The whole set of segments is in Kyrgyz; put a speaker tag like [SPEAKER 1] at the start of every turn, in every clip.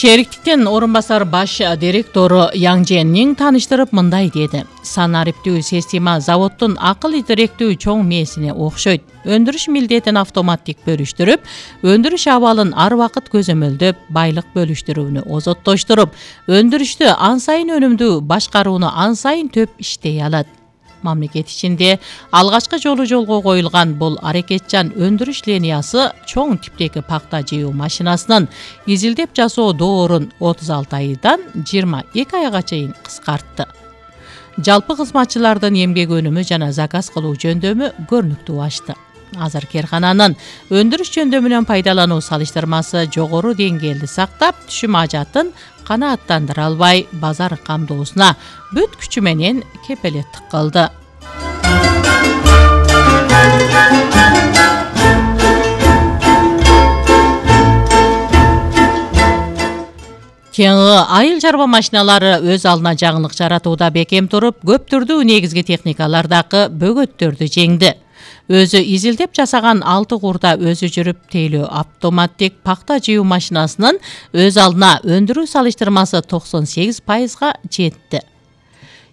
[SPEAKER 1] Шериктиктен орун басар баш директору Яң Женнин таныштырып мындай деди. Санариптүү система заводдун акыл идиректүү чоң мээсине окшойт. Өндүрүш милдетин автоматтик бөлүштүрүп, өндүрүш абалын ар убакыт көзөмөлдөп, байлык бөлүштүрүүнү озоттоштуруп, өндүрүштү ан сайын өнүмдүү башкарууну ан сайын төп иштей алат. Мамлекет ичинде алгачкы жолго коюлган бул аракетчан өндүрүш линиясы чоң типтеги пакта жыйуу машинасынын изилдеп жасоо доорун 36 айдан 22 айга чейин кыскартты. Жалпы кызматчылардын эмгек өнүмү жана заказ кылуу жөндөмү көрүнүктүү ашты. Азыр керкананын өндүрүш жөндөмүнөн пайдалануу салыштырмасы жогору деңгээлди сактап, түшүм ажатын канааттандыра албай, базар камдоосуна бүт күчү менен кепелеттик кылды. Кеңи айыл чарба машиналары өз алдына жаңылык жаратууда бекем туруп, көп түрдүү негизги техникалардагы бөгөттөрдү жеңди. Өзү изилдеп жасаган 6 курда өзү жүрүп тейлөө автоматтик пакта жыйуу машинасынын өз алдына өндүрүү салыштырмасы 98%га жетти.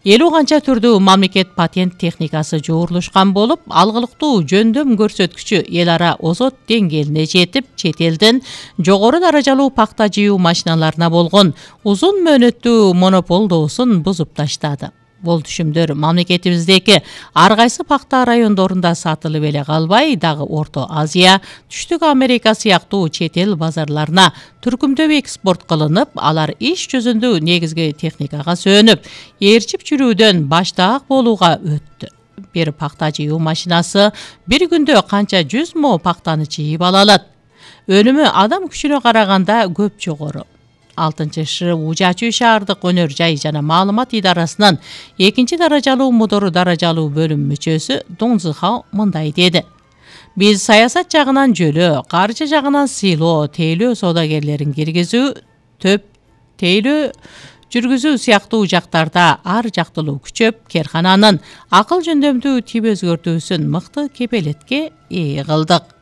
[SPEAKER 1] 50 канча түрдүү мамлекет патент техникасы жуурулушкан болуп, алгылыктуу жөндөм көрсөткүчү эл ара озот деңгээлине жетип, чет элден жогору даражалуу пакта жыйуу машиналарына болгон узун мөөнөттүү монополдоосун бузуп таштады. Бул түшүмдөр мамлекетибиздеги ар кайсы пакта райондорунда сатылып эле калбай, дагы Орто Азия, Түштүк Америка сыяктуу чет эл базарларына түркүмдөп экспорт кылынып, алар иш жүзүндө негизги техникага сөөнүп, ээрчип жүрүүдөн баштаак болууга өттү. Бир пакта жыйуу машинасы бир күндө канча 100 мо пактаны жыйып ала алат. Өнүмү адам күчүнө караганда көп жогору. 6-шы Ужачу шаардык өнөр жай жана маалымат идарасынын 2 даражалуу мудору даражалуу бөлүм мүчөсү Дун Зыхао мындай деди. Биз саясат жагынан жөлөө, каржы жагынан сыйлоо, тейлөө соодагерлерин киргизүү, төп тейлөө жүргүзүү сыяктуу жактарда ар жактылуу күчөп, керкананын акыл жөндөмдүү тип өзгөртүүсүн мыкты кепелетке ээ кылдык.